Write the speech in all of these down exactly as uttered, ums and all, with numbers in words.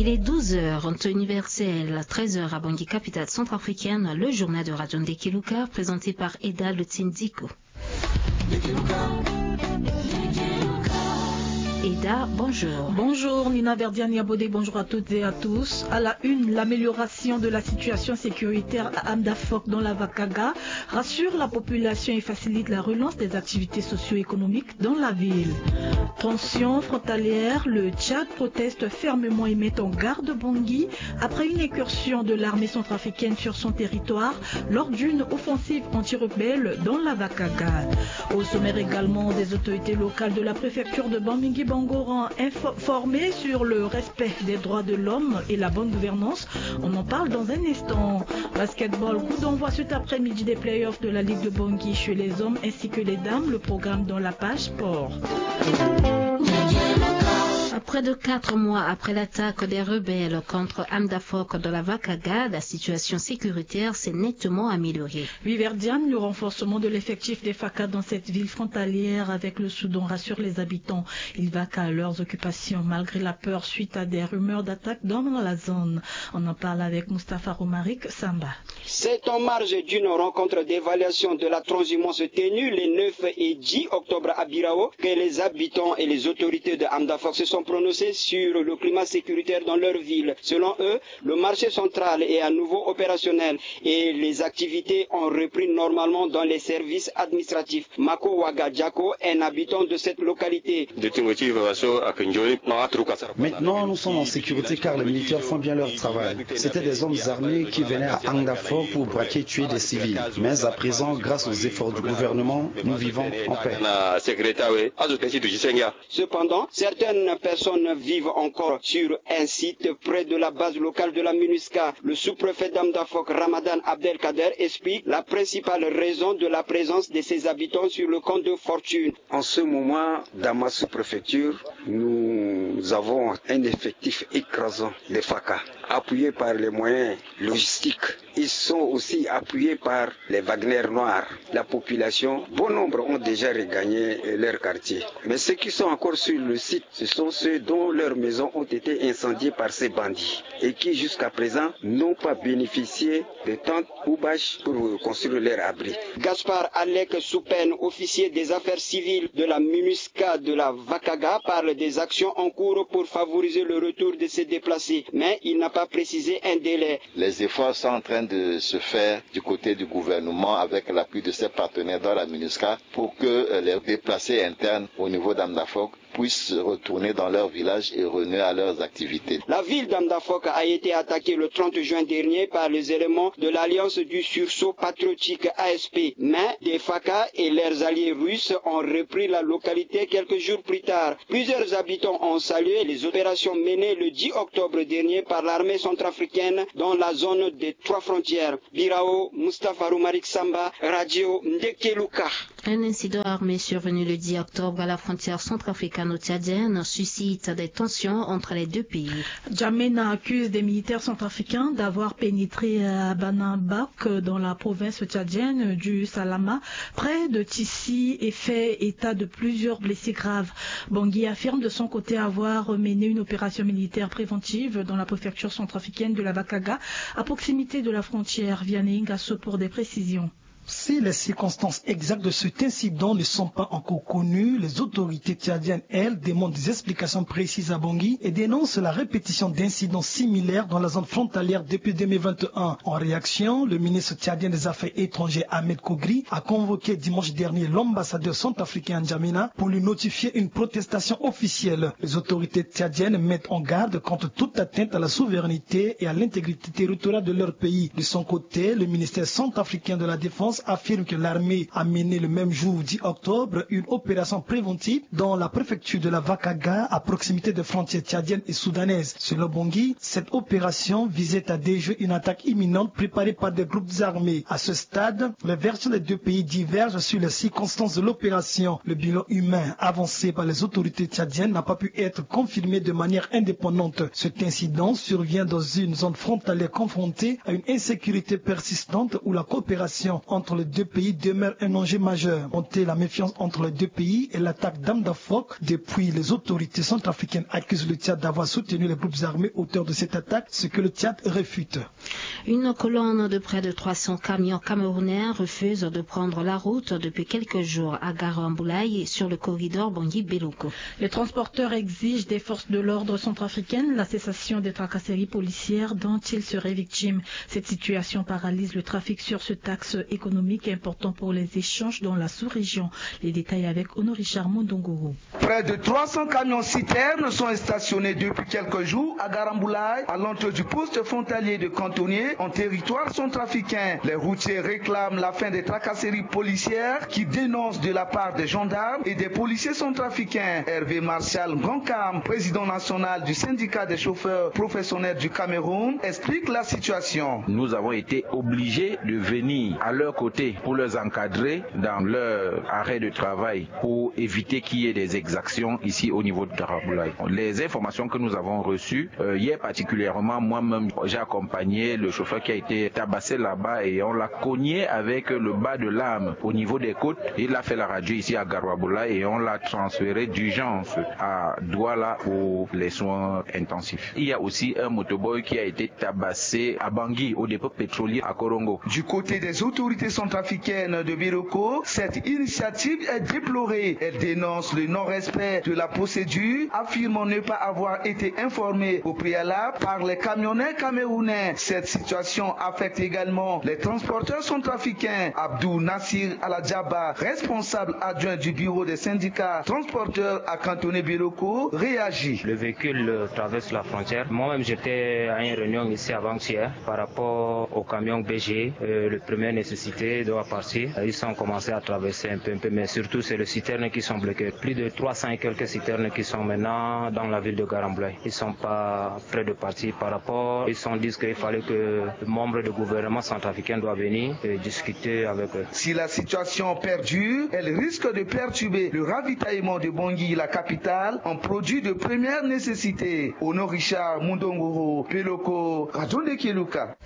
Il est douze heures en temps universel, treize heures à Bangui, capitale centrafricaine. Le journal de Radio Ndekeluka, présenté par Eda Lotindiko. Eda, bonjour. Bonjour Nina Verdiani Abodé, bonjour à toutes et à tous. À la une, l'amélioration de la situation sécuritaire à Amdafok dans la Vakaga rassure la population et facilite la relance des activités socio-économiques dans la ville. Tension frontalière, le Tchad proteste fermement et met en garde Bangui après une incursion de l'armée centrafricaine sur son territoire lors d'une offensive anti-rebelle dans la Vakaga. Au sommaire également, des autorités locales de la préfecture de Bamingui-Bangoran informées sur le respect des droits de l'homme et la bonne gouvernance. On en parle dans un instant. Basketball, coup d'envoi cet après-midi des playoffs de la Ligue de Bangui chez les hommes ainsi que les dames. Le programme dans la page sport. Près de quatre mois après l'attaque des rebelles contre Amdafok de la Vakaga, la situation sécuritaire s'est nettement améliorée. Viverdiane, le renforcement de l'effectif des FACA dans cette ville frontalière avec le Soudan rassure les habitants. Ils vaquent à leurs occupations malgré la peur suite à des rumeurs d'attaque dans la zone. On en parle avec Mustapha Romaric Samba. C'est en marge d'une rencontre d'évaluation de la transhumance tenue les neuf et dix octobre à Birao que les habitants et les autorités de Amdafok se sont prononcés sur le climat sécuritaire dans leur ville. Selon eux, le marché central est à nouveau opérationnel et les activités ont repris normalement dans les services administratifs. Mako Wagadjako, un habitant de cette localité. Maintenant, nous sommes en sécurité car les militaires font bien leur travail. C'était des hommes armés qui venaient à Amdafok pour braquer et tuer des civils. Mais à présent, grâce aux efforts du gouvernement, nous vivons en paix. Cependant, certaines personnes vivent encore sur un site près de la base locale de la MINUSCA. Le sous-préfet d'Amdafok, Ramadan Abdelkader, explique la principale raison de la présence de ces habitants sur le camp de fortune. En ce moment, dans ma sous-préfecture, nous avons un effectif écrasant de FACA, appuyé par les moyens logistiques. Ils sont aussi appuyés par les Wagner noirs. La population, bon nombre ont déjà regagné leur quartier. Mais ceux qui sont encore sur le site, ce sont ceux dont leurs maisons ont été incendiées par ces bandits et qui, jusqu'à présent, n'ont pas bénéficié de tentes ou bâches pour construire leur abri. Gaspard Alec Soupen, officier des affaires civiles de la MINUSCA de la Vakaga, parle des actions en cours pour favoriser le retour de ces déplacés, mais il n'a pas précisé un délai. Les efforts sont en train de se faire du côté du gouvernement avec l'appui de ses partenaires dans la MINUSCA pour que, euh, les déplacés internes au niveau d'Amdafok puissent retourner dans leur village et renouer à leurs activités. La ville d'Amdafok a été attaquée le trente juin dernier par les éléments de l'Alliance du Sursaut Patriotique, A S P, mais des FACA et leurs alliés russes ont repris la localité quelques jours plus tard. Plusieurs habitants ont salué les opérations menées le dix octobre dernier par l'armée centrafricaine dans la zone des trois frontières. Birao, Mustapha Romaric Samba, Radio Ndekeluka. Un incident armé survenu le dix octobre à la frontière centrafricaine-tchadienne suscite des tensions entre les deux pays. Djamena accuse des militaires centrafricains d'avoir pénétré à Banabak dans la province tchadienne du Salama, près de Tissi, et fait état de plusieurs blessés graves. Bangui affirme de son côté avoir mené une opération militaire préventive dans la préfecture centrafricaine de la Vakaga, à proximité de la frontière. Vianney Ngasso pour des précisions. Si les circonstances exactes de cet incident ne sont pas encore connues, les autorités tchadiennes, elles, demandent des explications précises à Bangui et dénoncent la répétition d'incidents similaires dans la zone frontalière depuis deux mille vingt et un. En réaction, le ministre tchadien des Affaires étrangères, Ahmed Kogri, a convoqué dimanche dernier l'ambassadeur centrafricain à N'Djamena pour lui notifier une protestation officielle. Les autorités tchadiennes mettent en garde contre toute atteinte à la souveraineté et à l'intégrité territoriale de leur pays. De son côté, le ministère centrafricain de la Défense affirme que l'armée a mené le même jour, dix octobre, une opération préventive dans la préfecture de la Vakaga, à proximité des frontières tchadiennes et soudanaises. Selon Bangui, cette opération visait à déjouer une attaque imminente préparée par des groupes armés. À ce stade, les versions des deux pays divergent sur les circonstances de l'opération. Le bilan humain avancé par les autorités tchadiennes n'a pas pu être confirmé de manière indépendante. Cet incident survient dans une zone frontalière confrontée à une insécurité persistante où la coopération entre entre les deux pays demeure un enjeu majeur. Monter la méfiance entre les deux pays et l'attaque d'armes à feu depuis les autorités centrafricaines accusent le Tchad d'avoir soutenu les groupes armés auteurs de cette attaque, ce que le Tchad réfute. Une colonne de près de trois cents camions camerounais refuse de prendre la route depuis quelques jours à Garamboulaye sur le corridor Bangui-Beloko. Les transporteurs exigent des forces de l'ordre centrafricaines la cessation des tracasseries policières dont ils seraient victimes. Cette situation paralyse le trafic sur cet axe économique important pour les échanges dans la sous-région. Les détails avec Honoré Richard Mondongoro. Près de trois cents camions citernes sont stationnés depuis quelques jours à Garamboulaye, à l'entrée du poste frontalier de Cantonnier, en territoire centrafricain. Les routiers réclament la fin des tracasseries policières qui dénoncent de la part des gendarmes et des policiers centrafricains. Hervé Martial Ngankam, président national du syndicat des chauffeurs professionnels du Cameroun, explique la situation. Nous avons été obligés de venir à leur côté pour les encadrer dans leur arrêt de travail pour éviter qu'il y ait des exactions ici au niveau de Garamboulaye. Les informations que nous avons reçues, euh, hier particulièrement, moi-même, j'ai accompagné le chauffeur qui a été tabassé là-bas et on l'a cogné avec le bas de l'arme au niveau des côtes. Il a fait la radio ici à Garamboulaye et on l'a transféré d'urgence à Douala pour les soins intensifs. Il y a aussi un motoboy qui a été tabassé à Bangui, au dépôt pétrolier à Korongo. Du côté des autorités centrafricaines de Biroko, cette initiative est déplorée. Elle dénonce le non-respect de la procédure, affirmant ne pas avoir été informée au préalable par les camionneurs camerounais. Cette situation affecte également les transporteurs centrafricains. Abdou Nassir Aladjaba, responsable adjoint du bureau des syndicats transporteurs à Cantonnier Biroko, réagit. Le véhicule, euh, traverse la frontière. Moi-même, j'étais à une réunion ici avant-hier par rapport au camion B G, euh, le premier nécessité doit partir. Ils sont commencés à traverser un peu, un peu, mais surtout, c'est les citernes qui sont bloquées. Plus de trois cents et quelques citernes qui sont maintenant dans la ville de Garamboulaye. Ils sont pas près de partir par rapport. Ils sont dit qu'il fallait que le membre du gouvernement centrafricain doit venir et discuter avec eux. Si la situation perdure, elle risque de perturber le ravitaillement de Bangui, la capitale, en produits de première nécessité. Honoré Richard Mondongoro, Biroko, Radio Ndekeluka.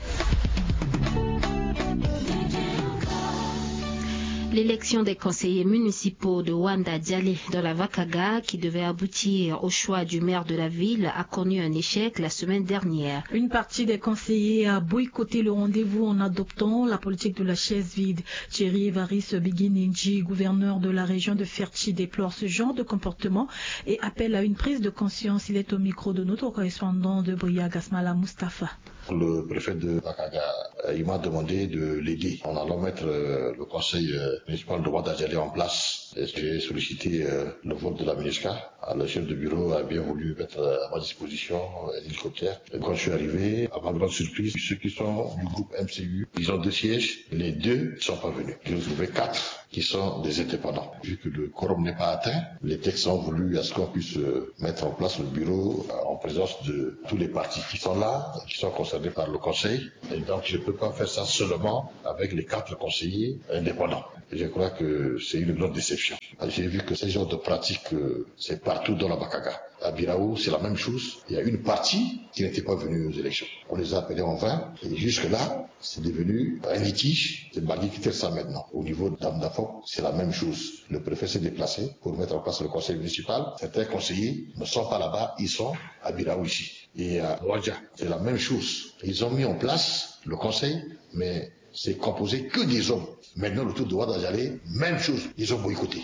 L'élection des conseillers municipaux de Wanda Dialé dans la Vakaga, qui devait aboutir au choix du maire de la ville, a connu un échec la semaine dernière. Une partie des conseillers a boycotté le rendez-vous en adoptant la politique de la chaise vide. Thierry Evariste Biginindji, gouverneur de la région de Ferti, déplore ce genre de comportement et appelle à une prise de conscience. Il est au micro de notre correspondant de Bria, Gasmala Mustapha. Le préfet de Bakaga, euh, il m'a demandé de l'aider en allant mettre, euh, le conseil, euh, municipal de Wanda Dialé en place. Et j'ai sollicité, euh, le vote de la MINUSCA. Alors, le chef de bureau a bien voulu mettre, euh, à ma disposition un hélicoptère. Et quand je suis arrivé, à ma grande surprise, ceux qui sont du groupe M C U, ils ont deux sièges, les deux ne sont pas venus. J'ai retrouvé quatre qui sont des indépendants. Vu que le quorum n'est pas atteint, les textes ont voulu à ce qu'on puisse, euh, mettre en place le bureau, euh, en présence de tous les partis qui sont là, qui sont concernés par le conseil. Et donc, je ne peux pas faire ça seulement avec les quatre conseillers indépendants. Et je crois que c'est une grande déception. J'ai vu que ce genre de pratique, euh, c'est partout dans la Bakaga. À Birao, c'est la même chose. Il y a une partie qui n'était pas venue aux élections. On les a appelés en vain. Et jusque-là, c'est devenu un litige. C'est Bangui qui traite ça maintenant. Au niveau d'Amdafok, c'est la même chose. Le préfet s'est déplacé pour mettre en place le conseil municipal. Certains conseillers ne sont pas là-bas, ils sont à Birao ici. Et à Wadja, c'est la même chose. Ils ont mis en place le conseil, mais c'est composé que des hommes. Maintenant, le tour de Wanda Dialé, même chose, ils ont boycotté.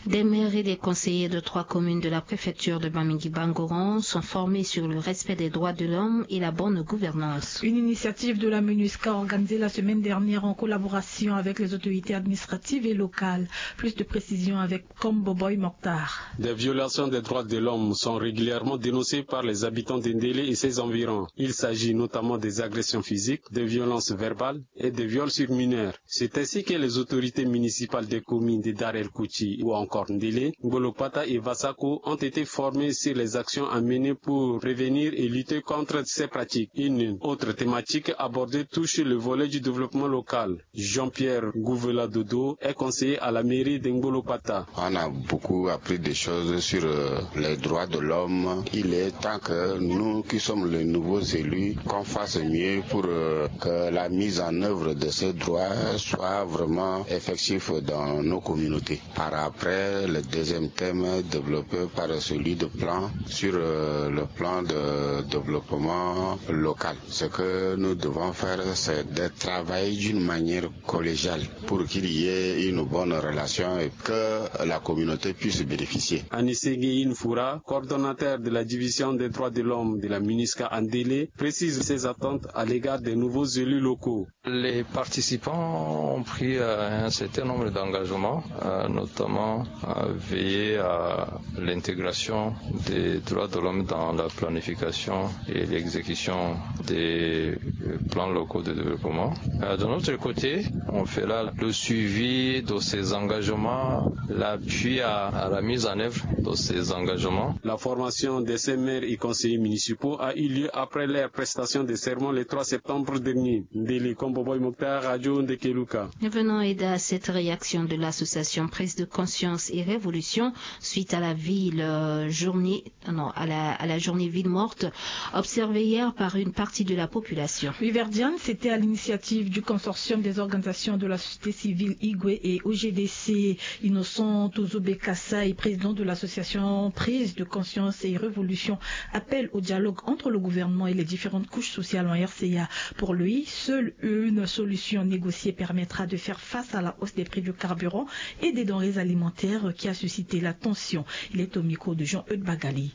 Des maires et des conseillers de trois communes de la préfecture de Bamingui-Bangoran sont formés sur le respect des droits de l'homme et la bonne gouvernance. Une initiative de la MINUSCA organisée la semaine dernière en collaboration avec les autorités administratives et locales. Plus de précisions avec Komboboy Mokhtar. Des violations des droits de l'homme sont régulièrement dénoncées par les habitants de Ndélé et ses environs. Il s'agit notamment des agressions physiques, des violences verbales et des viols sur mineurs. C'est ainsi que les autorités municipales des communes de Dar El Kouti ou encore Corndele, Ngbolokpata et Vasako ont été formés sur les actions à mener pour prévenir et lutter contre ces pratiques. Une autre thématique abordée touche le volet du développement local. Jean-Pierre Gouvela Dodo est conseiller à la mairie de Ngbolokpata. On a beaucoup appris des choses sur euh, les droits de l'homme. Il est temps que nous qui sommes les nouveaux élus, qu'on fasse mieux pour euh, que la mise en œuvre de ces droits soit vraiment effective dans nos communautés. Par après, le deuxième thème est développé par celui de plan sur euh, le plan de développement local. Ce que nous devons faire, c'est de travailler d'une manière collégiale pour qu'il y ait une bonne relation et que la communauté puisse bénéficier. Anisege Infoura, coordonnateur de la division des droits de l'homme de la MINUSCA à Ndélé, précise ses attentes à l'égard des nouveaux élus locaux. Les participants ont pris euh, un certain nombre d'engagements, euh, notamment euh, veiller à l'intégration des droits de l'homme dans la planification et l'exécution des euh, plans locaux de développement. Euh, de notre côté, on fera le suivi de ces engagements, l'appui à, à la mise en œuvre de ces engagements. La formation de ces maires et conseillers municipaux a eu lieu après leur prestation de serment le trois septembre dernier. Ndélé Komboboy Mokhtar, Radio Ndekeluka. Revenons et à cette réaction de l'association Prise de conscience et révolution suite à la ville euh, journée, non, à la, à la journée ville morte, observée hier par une partie de la population. Riverdian, c'était à l'initiative du consortium des organisations de la société civile Igwe et O G D C. Innocent Tozo Bekassa, président de l'association Prise de conscience et révolution, appelle au dialogue entre le gouvernement et les différentes couches sociales en R C A. Pour lui, seule une solution négociée permettra de faire face à la hausse des prix du carburant et des denrées alimentaires qui a suscité la tension. Il est au micro de Jean-Eudes Bagali.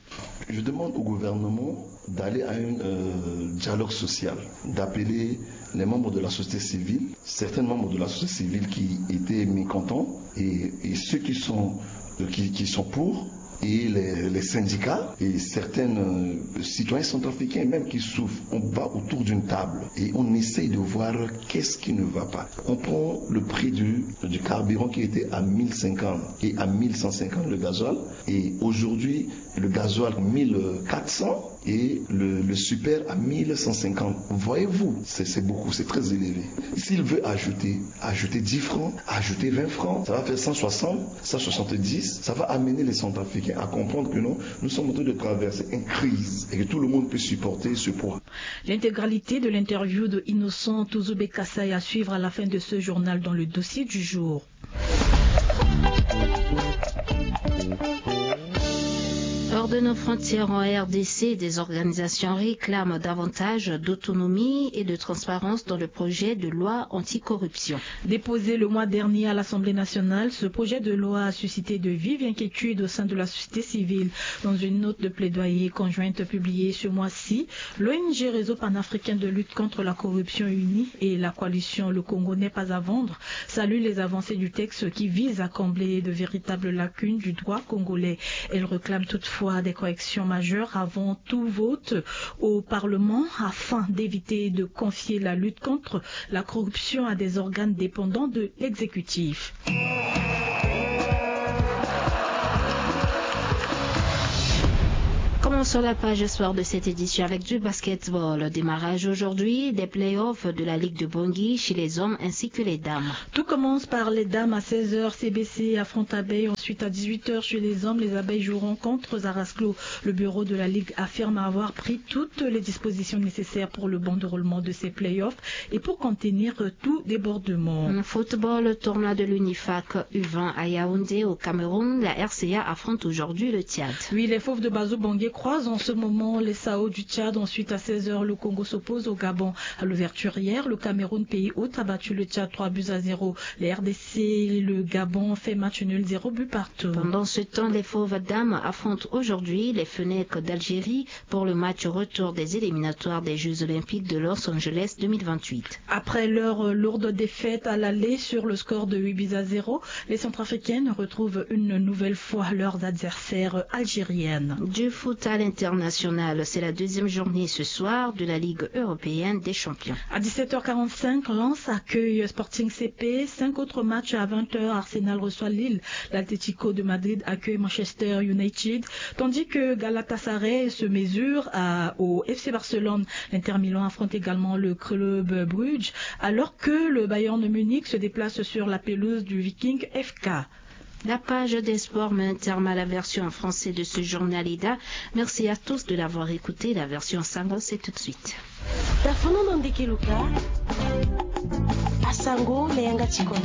Je demande au gouvernement d'aller à un euh, dialogue social, d'appeler les membres de la société civile, certains membres de la société civile qui étaient mécontents et, et ceux qui sont, euh, qui, qui sont pour, et les, les syndicats et certains euh, citoyens centrafricains même qui souffrent. On bat autour d'une table et on essaye de voir qu'est-ce qui ne va pas. On prend le prix du, du carburant qui était à mille cinquante et à mille cent cinquante le gasoil, et aujourd'hui le gasoil mille quatre cents et le, le super à mille cent cinquante. Voyez-vous, c'est beaucoup, c'est très élevé. S'il veut ajouter, ajouter dix francs, ajouter vingt francs, ça va faire cent soixante, cent soixante-dix, ça va amener les centrafricains à comprendre que non, nous sommes en train de traverser une crise et que tout le monde peut supporter ce poids. L'intégralité de l'interview de Innocent Tozo Bekassa est à suivre à la fin de ce journal dans le dossier du jour. Hors de nos frontières en R D C, des organisations réclament davantage d'autonomie et de transparence dans le projet de loi anticorruption. Déposé le mois dernier à l'Assemblée nationale, ce projet de loi a suscité de vives inquiétudes au sein de la société civile. Dans une note de plaidoyer conjointe publiée ce mois-ci, l'O N G Réseau panafricain de lutte contre la corruption unie et la coalition Le Congo n'est pas à vendre saluent les avancées du texte qui vise à combler de véritables lacunes du droit congolais. Elles réclament toutefois des corrections majeures avant tout vote au Parlement afin d'éviter de confier la lutte contre la corruption à des organes dépendants de l'exécutif. Commençons la page sport de cette édition avec du basketball. Démarrage aujourd'hui des playoffs de la Ligue de Bangui chez les hommes ainsi que les dames. Tout commence par les dames à seize heures. C B C affronte Abeilles. Ensuite, à dix-huit heures chez les hommes, les Abeilles joueront contre Zarasclo. Le bureau de la Ligue affirme avoir pris toutes les dispositions nécessaires pour le bon déroulement de ces playoffs et pour contenir tout débordement. Football, tournoi de l'UNIFAC U vingt à Yaoundé au Cameroun, la R C A affronte aujourd'hui le Tchad. Oui, les Fauves de Bazo Bangui croisent en ce moment les Sao du Tchad. Ensuite, à seize heures, le Congo s'oppose au Gabon. À l'ouverture hier, le Cameroun, pays hôte, a battu le Tchad trois buts à zéro. Les R D C et le Gabon fait match nul, zéro but partout. Pendant ce temps, les Fauves dames affrontent aujourd'hui les Fennecs d'Algérie pour le match retour des éliminatoires des Jeux Olympiques de Los Angeles deux mille vingt-huit. Après leur lourde défaite à l'aller sur le score de huit buts à zéro, les Centrafricaines retrouvent une nouvelle fois leurs adversaires algériennes. Du foot à International, c'est la deuxième journée ce soir de la Ligue européenne des champions. À dix-sept heures quarante-cinq, Lens accueille Sporting C P. Cinq autres matchs à vingt heures. Arsenal reçoit Lille. L'Atlético de Madrid accueille Manchester United, tandis que Galatasaray se mesure à, au F C Barcelone. L'Inter Milan affronte également le club Bruges, alors que le Bayern Munich se déplace sur la pelouse du Viking F K. La page des sports met un terme à la version en français de ce journal Ida. Merci à tous de l'avoir écouté. La version sango, c'est tout de suite. Tafono na ndeke luka. Asango na yanga ti koto.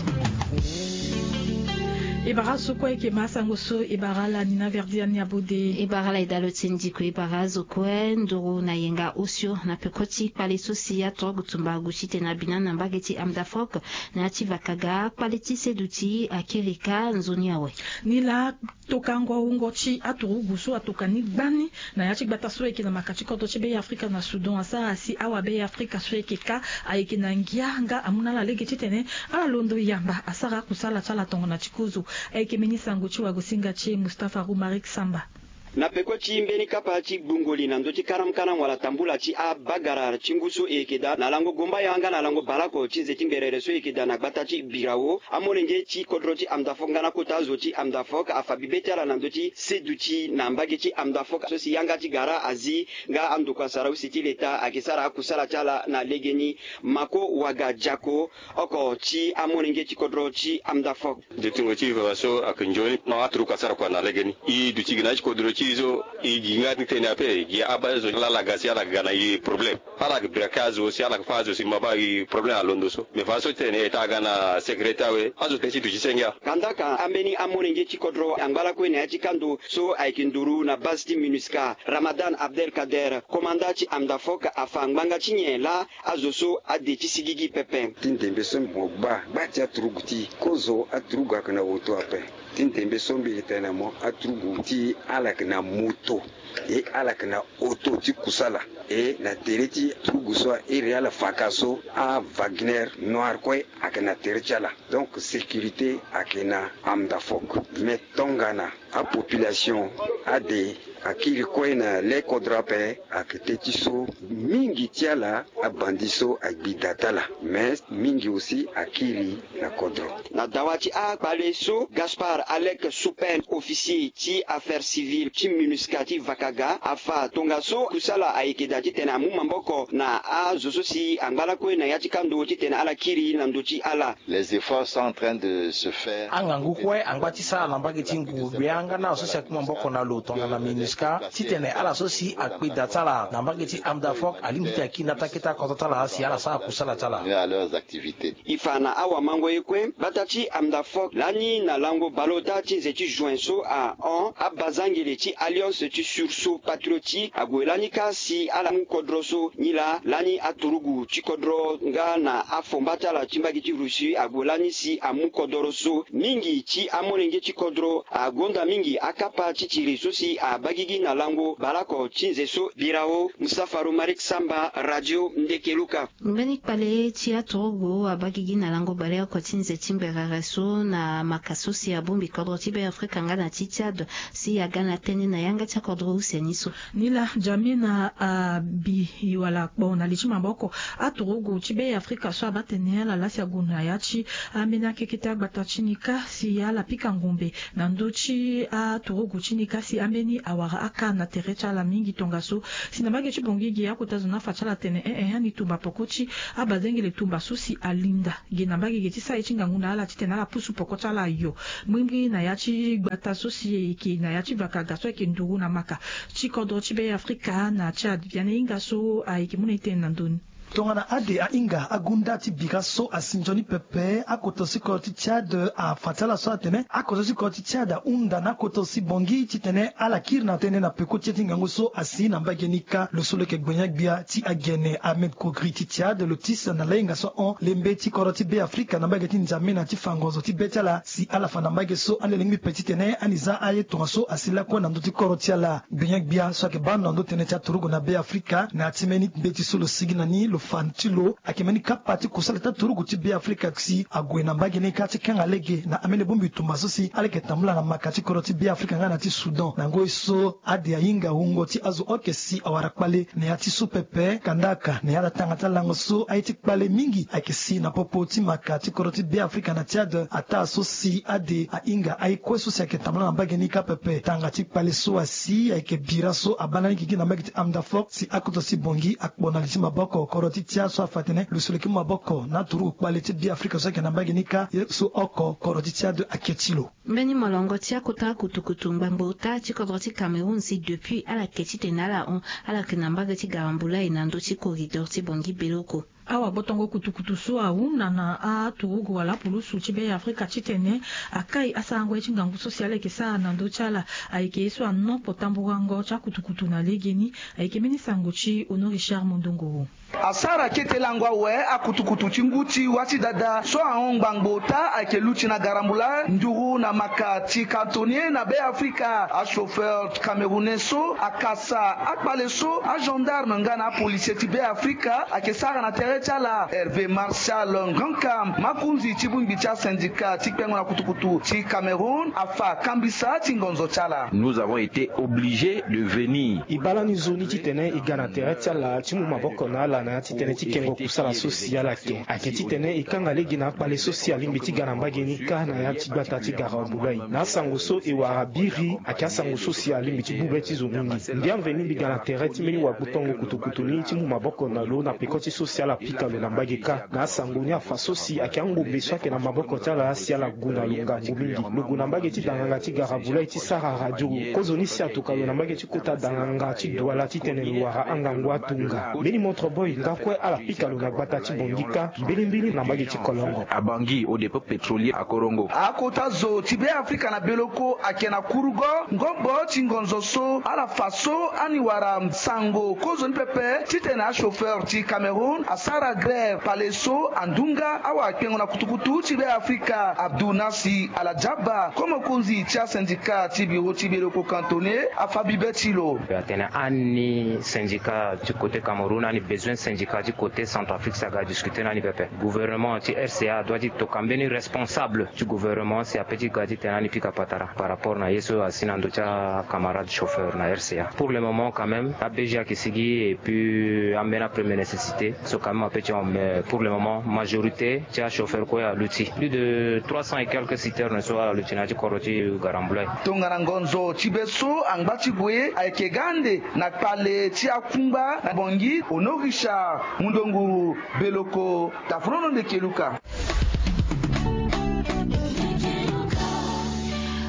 E bara so kue eke ma asango so e bara ala ni na verdi ani abode. E bara ala e dalo ti ndiko e bara azo kue nduru na yenga osio na peko ti kpale so si aturugu tumba agu ti tene abina na mbage ti Amdafok na ya ti vakaga kpale ti seduti akiri ka nzoni awe. Ni laa tokango ahungo ti aturugu so atoka ni gbani na ya ti gbata so ayeke na maka ti kodro ti Be Afrika na Soudan asara si awa Be Afrika so ayeke ka ayeke na ngia nga amu na ala lege titene ala londo yamba asara akusala ti ala tongana ti kozo. Ayeke mbeni sango ti wagosinga ti e Mustapha Rumarik Samba. Na peko ti mbeni kapa ti gbungo li na ndö ti karamkaram wala tambula ti abagara ti ngu so e yeke daa na lango gomba yanga na lango baleoko ti nze ti ngberere so e yeke daa na gbata ti Birao, amolenge ti kodro ti Amdafok nga na kota azo ti Amdafok afa bibe ti ala na ndö ti seduti na mbage ti Amdafok so si yanga ti gara azi nga andokua sara use ti leta ayeke sara akusala ti ala na legeni. Mako Waga Diako, oko ti amolenge ti kodro ti Amdafok. Dutingo ti e fa so ayeke nzoni non aturuku asara kua na legeni. E duti gi na ya ti kodro ti e so e gi nga ti tene ape e gi abaa azo laa ala ga si ala ga na e problème. Ala yeke braka azo si ala yeke fâ azo si maba e problème alondo so. Mais fa so ti tene e taa ga na sécurité awe azo tene ti duti senge. Kandaka ambeni amolenge ti kodro angba lakue na ya ti kando so ayeke nduru na base ti MINUSCA, Ramadan Abdelkader, komanda ti Amdafok afa ngbanga ti nyen laa azo so ade ti sigigi pepe. Ti ndembe so mo gba gba ti aturugu ti e kozo aturugu ayeke na oto ape. Ti ndembe so mbi yeke tene na mo aturugu ti e ala yeke na moto e ala yeke na oto ti kusala. E na tere ti aturugu so a iri ala faka so a Wagner Noir kue ayeke na tere ti ala. Donc sécurité ayeke na Amdafok. Mais tongana apopulation ade akiri kue na le kodro ape, ayeke teti so mingi ti ala abandi so agbi da ti ala. Mais mingi aussi akiri na kodro. Na dawa ti akpale so Gaspard Alec Soupen, officier ti affaire civile ti MINUSCA ti vakaga afa tongaso kusala ayeke daa titene amu maboko na azo so si angba lakue na ya ti kando titene ala kiri na ndö ti ala. Les efforts sont en train de se faire. Angangu kue angba ti sara na mbage ti nguru gbia nga na azo so si aku maboko na lo tongana MINUSCA titene ala so si akpe da ti ala na mbage ti Amdafok alingbi ti akiri na ata kete akodro ti ala si ala sara kusala ti ala. À leurs activités. E fa na awamango ye kue gbata ti Amdafok lani na lango baleota ti nze ti juin so ahon abazangele ti Alliance ti Sursaut Patriotique ague lani kâ si ala mu kodro so nilaa lani aturugu ti kodro nga na afomba ti ala ti mbage ti Russie ague lani si amu kodoro so. Mingi ti amolenge ti kodro agonda mingi akapa ti tiri so si abagigi na lango baleoko ti nze so. Birao, Moussa Farou Marik Samba, Radio Ndeke Luka. Mbeni kpale ti aturugu abagigi na lango baleoko ti nze ti ngberere so na maka so si abongbi kodro ti Be Afrika nga na ti Tchad si aga na tënë na yanga ti akodro use ni so. Nilaa Djamena abi wala kpo na li ti maboko aturugu ti Be Afrika so abaa tene ala laa si ague na ya ti ambeni akeke ti agbata ti ni kâ si ala pika ngombe na ndö ti aturugu ti ni kâ si ambeni awara aka na tere ti ala mingi tongaso. Si na mbage ti bongi gi akota zo ni afa ti ala atene eh eh ani tumba peko ti abazengele tumba so si alinda ge na mbage ge ti sara ye ti ngangu na ala titene ala pusu peko ti ala ayo. Mbirimbiri na ya ti gbata so si e yeke na ya ti vakaga so ayeke nduru na maka ti kodro ti Be Afrika na Tchad biani hinga so ayeke mu na e tene na ndö ni. Tongana ade ahinga agunda ti bira so asi nzoni pepe akoto si kodro ti Tchad afa ti ala so atene akoto si kodro ti Tchad ahunda na akoto si bongi titene ala kiri na tënë na peko ti ye ti ngangu so asi na mbage ni kâ. Lo so lo yeke gbenyo-gbia ti agene Ahmed Kogri ti Tchad lo tisa na lahinga so ahon lembe ti kodro ti Be Afrika na mbage ti Nzamena ti fa ngonzo ti be ti ala si ala fa na mbage so ande lingbi pe titene ani za aye tongaso asi lakue na ndö ti kodro ti ala. Gbenyo-gbia so ayeke baa ndo na ndö tënë ti aturugu na Be Afrika na ya ti mbeni mbeti so lo sigi na ni lo Fa ti lo ayeke mbeni kapa ti kusala ti aturugu ti Beafrika si ague na mbage ni kâ ti kanga lege na ambeni bongbi tumba so si ala yeke tambula na maka ti kodro ti Beafrika nga na ti Soudan. Na ngoi so ade ahinga wungo ti azo oke si awara kpale na ya ti so pepe, kandaka na ya ti atanga ti alango so aye ti kpale mingi ayeke si na popo ti maka ti kodro ti Beafrika na Tchad, ataa so si ade ahinga aye kue so si ayeke tambula na mbage ni kâ pepe. Tanga ti kpale so asi ayeke bira so abâ na ni gigi na mbage ti Amdafok si akoto ti bongi akpo na li ti maboko kodro ti Tchad so afa atene lo si lo yeke mu maboko na aturugu kpale ti Beafrika so ayeke na mbage ni kâ, ye so oko kodro ti Tchad ake ti lo. Mbeni molongo ti akota kutukutu ngbangbo ota ti kodro ti Cameroun si depuis ala ke titene ala hon, ala yeke na mbage ti garambula e na ndö ti corridor ti bongi beloko. Awagbotongo kutukutu so ahunda na aturugu wala apulusu ti Beafrika titene akai asarango ye ti ngangu so si ala yeke sara na ndö ti ala ayeke ye so anopo tamburango ti akutukutu na legeni. Ayeke mbeni sango ti Honoré Richard Mondongo. Asara kete lango awe akutukutu ti ngu ti wâ ti dada so ahon ngbangbo ota ayeke luti na garambula nduru na maka ti cantonnier na Beafrika. Achauffeur camerounais so akasa akpale so agendarme nga na apolisier ti Beafrika ayeke sara na tere ti ala. Hervé Martial Ngrankam, makonzi ti bongbi ti asyndicat ti kpengo na kutukutu ti Cameroun, afa kambisa ti ngonzo ti ala. Nous avons été obligés de venir. E bâ lani nzoni titene e ga na tere ti ala ti mu maboko na ala na ya titene ti kengo kusala so si ala yeke. Ayeke titene e kanga lege na akpale so si alingbi ti ga na mbage ni kâ na ya ti gbata ti garambula e. Na asango so e wara biri ayeke asango so si alingbi ti bube ti zo mingi. Ndia mveni mbi ga na tere ti mbeni wagbotongo kutukutu ni ti mu maboko na lo na peko ti so si ala pika lo na mbage kâ. Na asango ni afa so si ayeke angombe so ayeke na maboko ti ala si ala gue na lo ngangu mingi. Lo gue na mbage ti danganga ti garambula e ti sara radio. Kozoni si atuka lo na mbage ti kota danganga ti Douala titene lo wara angangu atunga. Mbeni montre boy nga kue ala pika lo na gbata ti bongi kâ, mbirimbiri na mbage ti Kolongo. Abangi au dépôt pétrolier à Korongo. Akota zo ti Beafrika na Beloko ayeke na kurugo ngombo ti ngonzo so ala fa so ani wara sango kozoni pepe titene achauffeur ti Cameroun asara grève pale so andunga awakpengo na kutukutu ti Beafrika. Abdou Nassi Aladjaba, ko mokonzi ti asyndicat ti bureau ti Beloko cantonnier, afa bibe ti lo. Atene ani syndicat ti côté Cameroun, ani besoin syndicat ti côté Centrafrique si aga discuter na ani pepe. Gouvernement ti R C A adoit ti toka mbeni responsable ti gouvernement si apeut ti ga titene ani pika patara par rapport na ye so asi na ndö ti acamarade chauffeur na R C A. Pour le moment quand même, A B G ayeke sigi et puis ambeni apremière nécessité so quand même apeut ti hon, mais pour le moment majorité ti achauffeur kue aluti. Plus de trois cents et quelques citernes so ala luti na ya ti kodro ti Garambulai. Tongana ngonzo ti be so angba ti gue ayeke ga ande na kpale ti akungba na Bangui. Honoré Richard Mundongo, Beloko, Tafrono Ndeke Luka.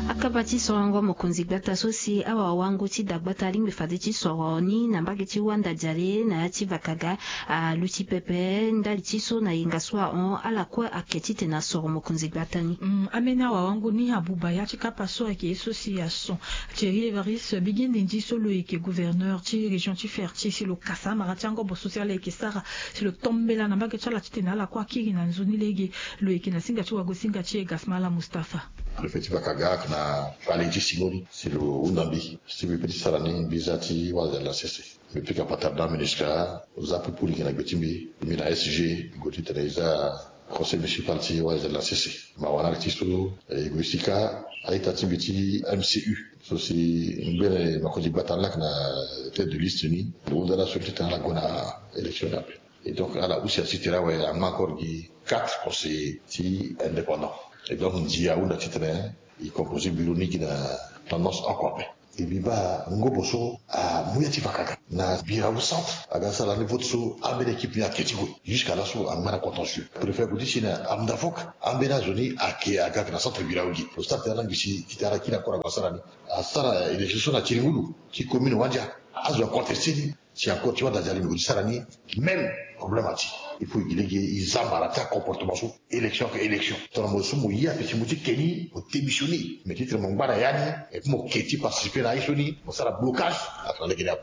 Akaba ti sorongo mokonzi gbata so si awawango ti dagbata alingbi fade ti soro ni na mbage ti Wanda Diale na ya ti Vakaga aluti pepe ndali ti so na yenga so ahon ala kue ake titene asoro mokonzi gbata ni. Mm, ambeni awawango ni abuba ya ti kapa so ayeke ye so si ason Thierry Évariste Bigende Ndi so lo yeke gouverneur ti région ti Ferti si lo kasa amara ti angobo so si ala yeke sara si lo tombela na mbage ti ala titene ala kue akiri na nzoni lege. Lo yeke na singa ti wagosinga ti e Gasmala Mustapha. Préfet ti Vakaga ayeke na kpale ti singo ni si lo hunda mbi si mbi peut ti sara ni mbi za ti wazela sese. Mbi pika patara na MINUSCA, za pupu lege na gbe ti mbi. Mbi na S G, mbi gue titene e za conseil municipal ti wazela sese. Mawa na ala ti so e gue sika a-ita ti mbi ti M C U so si ngbene makonzi gbata ni laa ayeke na tête de liste ni. Lo hunda ala so titene ala gue na élection ni ape. Et donc ala use asi tere awe angba encore gi quatre conseillers ti indépendant. Et donc ndia ahunda titene e composer bureau ni gi na tendance oko ape. E mbi baa ngobo so amu ya ti Vakaga na Birao centre aga sara ni vote so ambeni équipe ni ake ti gue. Jusqu'à laso angba na contentieux. Préfet ague ti si na Amdafok ambeni azo ni ake aga ayeke na centre Birao gi. Lo stade tene ala ngbi si titene ala kiri encore ague asara ni. Asara élection so na Tiringulu ti commune Wandia. Azo acontesté ni. Si encore ti Wanda Diale mbi gue ti sara ni même problème ati. Il faut e gi lege e za mara ti acomportement so, élection ayeke élection. Tongana mo so mo ye ape si mo ti ke ni, mo démissionner. Mais titene mo ngba na ya ni, et puis mo ke ti participer na aye so ni, mo sara blocage. Atara lege ni ape.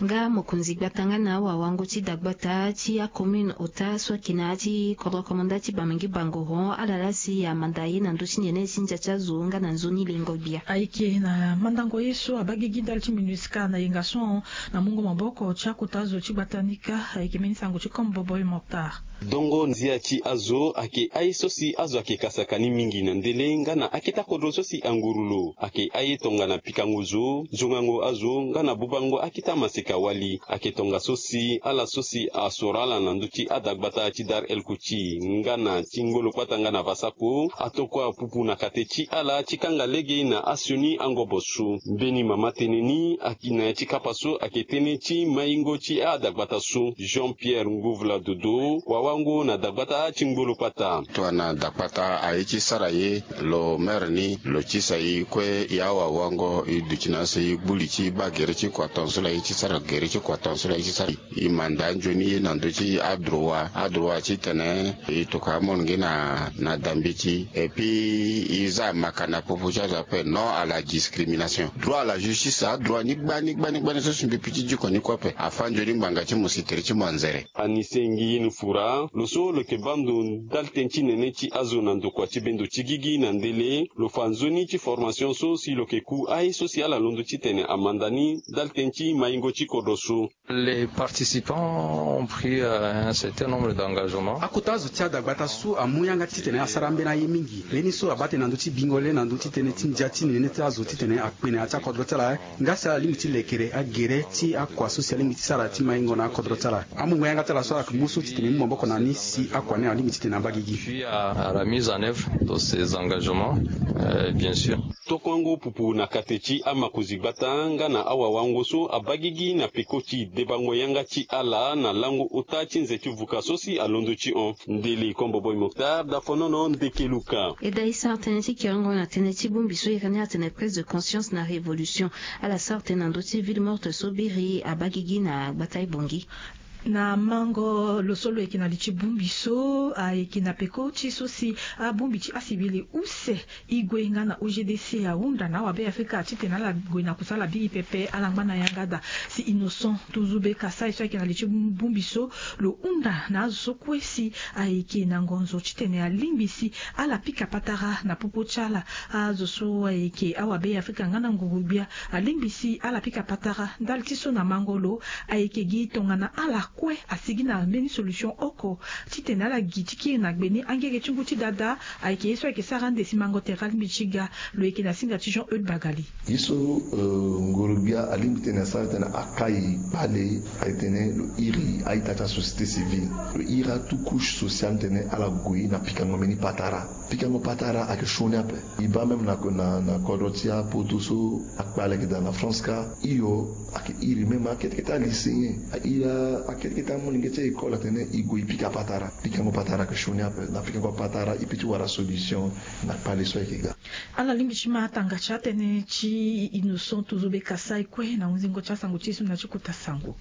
Nga mokonzi gbata nga na awawango ti dagbata ti acommune ota so ayeke na ya ti kodro komanda ti Bamingui Bangoron, ala laa si amanda ye na ndö ti nene ti ndia ti azo nga na nzoni lengo gbia. Ayeke na mandango ye so abaa gigi ndali ti MINUSCA na yenga so na mungo maboko ti akota zo ti gbata ni kâ. Ayeke mbeni sango ti Kombo Boy Moctar. Dongo ndia ti azo ayeke aye so si azo ayeke kasaka ni mingi na ndele nga na akete akodro so si anguru lo ayeke aye tongana pikango zo, zongango azo nga na bubango akete amaseka wali. Ayeke tongaso si ala so si asoro ala na ndö ti adagbata ti Dar El Kouti nga na ti Ngolo Kpata nga na Vasako atokua pupu na kate ti ala ti kanga lege na asioni angobo so. Mbeni mama tënë ni ayeke na ya ti kapa so ayeke tënë ti maingo ti adagbata so, Jean Pierre Ngouvla Dodo, wawango na dagbata ti Ngolo Kpata. Tongana dagbata aye ti sara ye, lo mere ni lo tisa e kue, e awawango e duti na aso e gbu li ti baa gere ti kua tongaso la e ti sara gere ti kua tongaso la e ti sara. E manda nzoni ye na ndö ti adroit, adroit titene e tokua amolenge na, na dambeti. Et puis e za maka na popo ti azo ape, non à la discrimination, droit à la justice, adroit ni gbani gbani gbani so si mbi pi ti diko ni kue ape. Afâ nzoni ngbanga ti mo si tere ti mo anzere. Anise Ngiyeni Fura, lo so lo yeke baa ndo ndali tënë ti nene ti azo na ndokua ti bendo ti gigi na ndele, lo fa nzoni ti formation so si lo yeke ku aye so si ala londo titene amanda ni ndali tënë ti maingo ti kodro so. Les participants ont pris, euh, un certain nombre d'engagements. Akota azo ti adagbata so amu yanga titene asara ambeni aye mingi. Mbeni so abaa tënë na ndö ti bingo le na ndö ti tënë ti ndia ti nene ti azo titene akpe na ya ti akodro ti ala, nga si ala lingbi ti lekere agere ti akua so si alingbi ti sara ti maingo na akodro ti ala. Amungo yanga ti ala so ala yeke mu so titene e mu maboko na ni si akua ni alingbi titene abaa gigi. Puis à, à la mise en œuvre de ces engagements, euh, bien sûr. Tokuango pupu na kate ti amakonzi gbata nga na awawango so abaa gigi na peko ti debango yanga ti ala na lango ota ti nze ti vuka so si alondo ti hon. Ndele Kombo Boy Moctar, Dafonono, Ndeke Luka. E dä e sara tënë ti kiringo na tënë ti bongbi so e yeke ni atene prise de conscience na révolution. Ala sara tënë na ndö ti ville morte so biri abaa gigi na gbata e Bangui. Na mango lo so lo yeke na li ti bongbi so ayeke na peko ti so si abongbi ti asibili use e gue nga na O G D C ahunda na awabe Afrika titene ala gue na kusala biri pepe, ala ngba na yanga daa. Si Innocent Tuzube Kasai so ayeke na li ti bongbi so lo hunda na azo so kue si ayeke na ngonzo titene alingbi si ala pika patara na popo ti ala. Azo so ayeke awabe Afrika nga na nguru-gbia alingbi si ala pika patara ndali ti so na mango lo ayeke gi tongana ala kue asigi na mbeni solution oko titene ala gi ti kiri na gbe ni angege ti ngu ti dada. Ayeke ye so ayeke sara ande si mango tere alingbi ti ga. Lo yeke na singa ti Jean Eude Bagali. Ye so, euh, nguru-gbia alingbi titene asara titene akai kpale, ayeke titene lo iri a-ita ti asociété civile, lo iri atu couche sociale titene ala gue na pikango mbeni patara. Pikango patara ayeke sioni ape. E baa même na, na, na kodro ti apoto so akpale ayeke daa na France kâ. Hio, ayeke iri même akete kete alycéen, a iri akete kete amolenge ti école atene e gue e pika patara. Pikango patara ayeke sioni ape. Na pikango patara e peut ti wara solution na kpale so ayeke ga. Ala lingbi ti ma tanga ti atënë ti Innocent Tuzube Kasai kue na hunzingo ti asango ti e so na ti kota sango.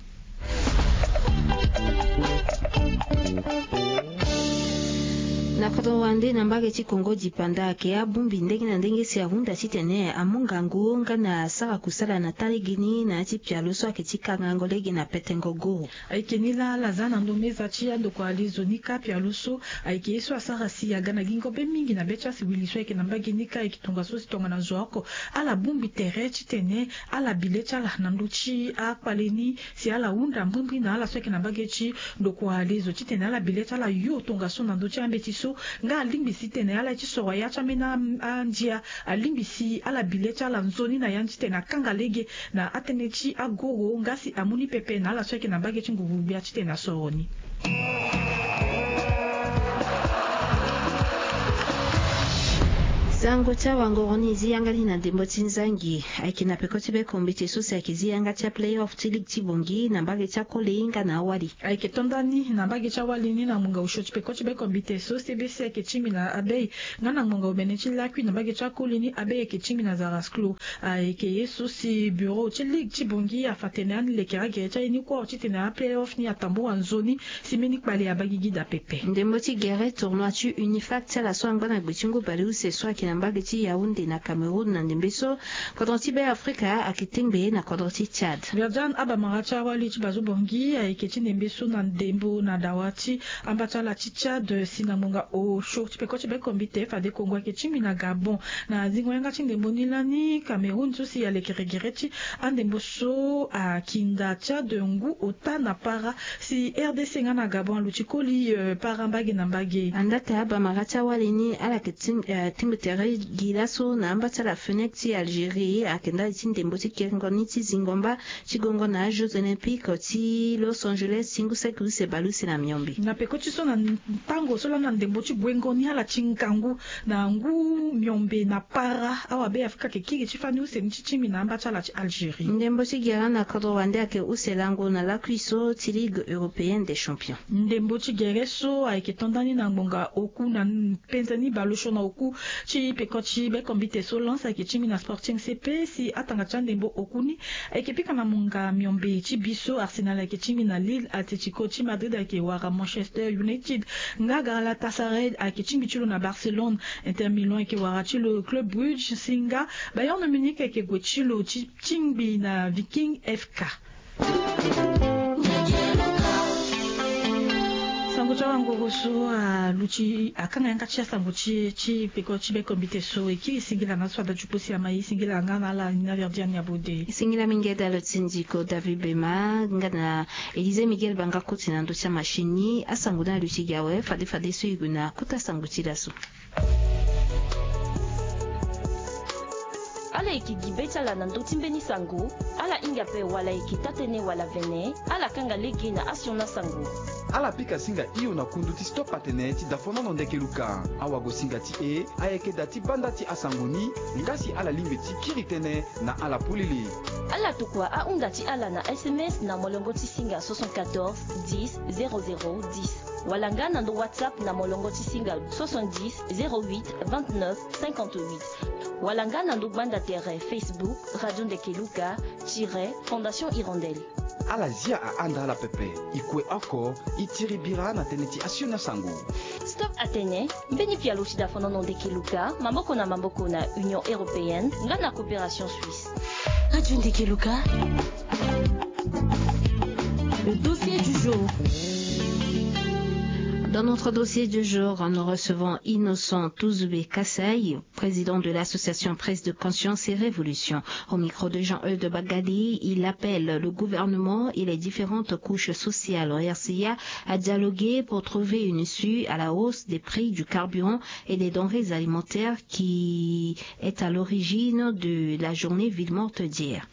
Na kodro wande na mbage ti Kongo dipanda ayeke abongbi ndenge na ndenge si ahunda titene amu ngangu nga na sara kusala na taa lege ni na ya ti pialo so ayeke ti kangango lege na petengo goro. Ayeke ni laa ala za na ndo meza ti andokua lezo ni kâ pialo so ayeke ye so asara si aga na gingo be mingi na be ti asiwili so ayeke na mbage ni kâ. Ayeke tongaso si tongana zo oko ala bongbi tere titene ala bi le ti ala na ndö ti akpale ni si ala hunda mbrimbri na ala so ayeke na mbage ti ndokua lezo titene ala bi le ti ala yo tongaso na ndö ti ambeti so. Nga alingbi si tene ala ye ti soro ya ti ambeni andia, alingbi si ala bi le ti ala nzoni na ya ni titene akanga lege na atënë ti agoro nga si amu ni pepe na ala so ayeke na mbage ti nguru-gbia titene asoro ni. Tango ti awangoro ni zi yanga ni na ndembo ti nzangi. Ayeke na peko ti bekombite so si ayeke zi yanga ti aplayoff ti ligue ti bongi na mbage ti akoli nga na awali. Ayeke to ndani na mbage ti awali ni na ngbonga osio ti peko ti bekombite so cbc ayeke tingbi na abei nga na ngbonga omene ti lakui na mbage ti akoli ni abei ayeke tingbi na zarasklo. Ayeke ye so si bureau ti ligue ti bongi afa tene ani lekere agere ti aye ni kua ti tene aplayoff ni atambua nzoni si mbeni kpale abagigi daa pepe. Ndembo ti gere tournoi ti unifac ti ala so angba na gbe ti ngu baleuse so ayeke na mbage ti yaounde na cameroun na ndembe so kodro ti be afrika ayeke tengbe na kodro ti tchad. Verdiane abamara ti awali ti bazo bongi ayeke ti ndembe so na ndembo na dawa ti amba ti ala ti tchad si na ngbonga osio ti peko ti bekombite fade kongo ayeke tingbi na gabon. Na zingo yanga ti ndembo ni lani cameroun so si alekere gere ti andembo so akinda tchad ngu ota na para si rdc nga na gabon aluti koli para mbage na mbage. Andata abamara ti awali ni ala yeke tingbi tere gi laso na amba ti ala fenec ti algérie ayeke ndali ti ndembo ti kiringo ni ti zingo mba ti gongo na ajeux olympiques ti los angeles ti ngu saki use baleuse na miombe. Na peko ti so na ntango so lani na ndembo ti guengo ni ala ti ngangu na ngu miombe na para awabe afrika ayeke kiri ti fani use ni ti tingbi na amba ti ala ti algérie. Ndembo ti gere na kodro wande ayeke use lango na lakui so ti ligue européenne des champions. Ndembo ti gere so ayeke to ndani na ngbonga oku na penze ni baleosio na oku ti peko ti bekombite so lance ayeke tingbi na sporting cp si atanga ti andembo oku ni ayeke pika na monga miombe ti bi so arsenal ayeke tingbi na lille atletico ti madrid ayeke wara manchester united nga galatasaray ayeke tingbi ti lo na barcelone. Inter milan ayeke wara ti lo club brugge si nga bayern munich ayeke gue ti lo ti tingbi na viking fk. Sango ti awangoro so aluti akanga yanga ti asango ti ti peko ti bekombite so e kiri singila na so ada ti kpo si ama e singila nga na ala ni na verdiane abode. Singila mingi eda lo ti ndiko david bema nga na élysée miguel banga koti na ndö ti amachine ni asango ni aluti gi awe fade fade so e gue na kota sango ti laso. Ala yeke gi be ti ala na ndö ti mbeni sango. Ala hinga ape wala e yeke taa-tënë wala vene ala kanga lege na asioni asango. Ala pika singa hio na kundu ti stop atene ti dafonono ndeke luka. Awagosinga ti e ayeke da ti banda ti asango ni. Nga si ala lingbi ti kiri tënë na ala polele. Ala tokua ahunda ti ala na sms na molongo ti singa soixante-quatorze dix zéro zéro dix wala nga na ndo whatsapp na molongo ti singa soixante-dix zéro huit vingt-neuf cinquante-huit wala nga na ndo gbanda tere facebook radio ndeke luka tire fondation hirondelle. Ala zia ahanda ala pepe. E kue oko e tiri bira na tënë ti asioni asango. Stop atene mbeni pialo ti dafonono ndeke luka maboko na maboko na union européenne nga na coopération suisse. Radio ndeke luka. Le dossier du jour. Dans notre dossier du jour, nous recevons Innocent Touzoubé Kassai, président de l'association Prise de conscience et révolution. Au micro de Jean-Eudes Bagali, il appelle le gouvernement et les différentes couches sociales en R C A à dialoguer pour trouver une issue à la hausse des prix du carburant et des denrées alimentaires qui est à l'origine de la journée ville morte d'hier.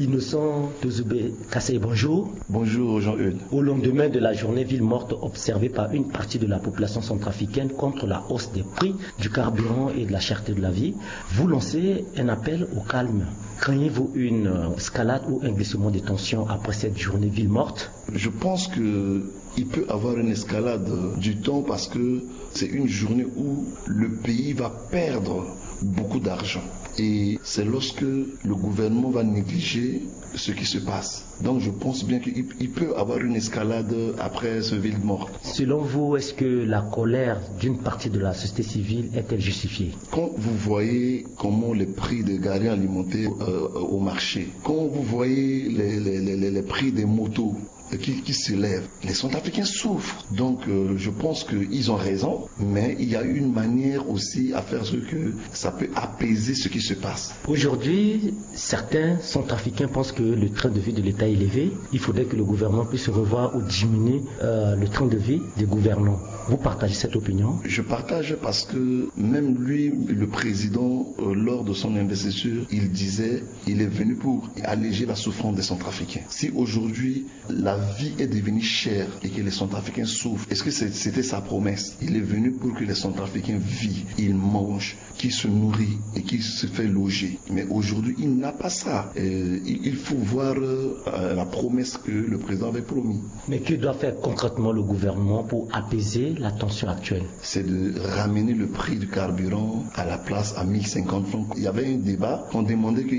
Innocent Touzoubé Kassai, bonjour. Bonjour Jean-Eudes. Au lendemain de la journée ville morte observée par une partie de la population centrafricaine contre la hausse des prix du carburant et de la cherté de la vie, vous lancez un appel au calme. Craignez-vous une escalade ou un glissement des tensions après cette journée ville morte ? Je pense que il peut avoir une escalade du temps parce que c'est une journée où le pays va perdre beaucoup d'argent. Et c'est lorsque le gouvernement va négliger ce qui se passe. Donc je pense bien qu'il peut avoir une escalade après ce ville morte. Selon vous, est-ce que la colère d'une partie de la société civile est-elle justifiée ? Quand vous voyez comment les prix des gari alimentaires au marché, quand vous voyez les prix des motos qui s'élèvent, les Centrafricains souffrent. Donc je pense qu'ils ont raison, mais il y a une manière aussi à faire ce que ça peut apaiser ce qui se passe. Aujourd'hui, certains Centrafricains pensent que le train de vie de l'État est élevé. Il faudrait que le gouvernement puisse revoir ou diminuer le train de vie des gouvernants. Vous partagez cette opinion ? Je partage parce que même lui, le président, lors de son investiture, il disait il est venu pour alléger la souffrance des Centrafricains. Si aujourd'hui la vie est devenue chère et que les Centrafricains souffrent. Est-ce que c'est- c'était sa promesse? Il est venu pour que les Centrafricains vivent, ils mangent, qui se nourrit et qui se fait loger. Mais aujourd'hui, il n'a pas ça. Euh, il, il faut voir euh, la promesse que le président avait promis. Mais que doit faire concrètement le gouvernement pour apaiser la tension actuelle? C'est de ramener le prix du carburant à la place à mille cinquante francs. Il y avait un débat, on demandait que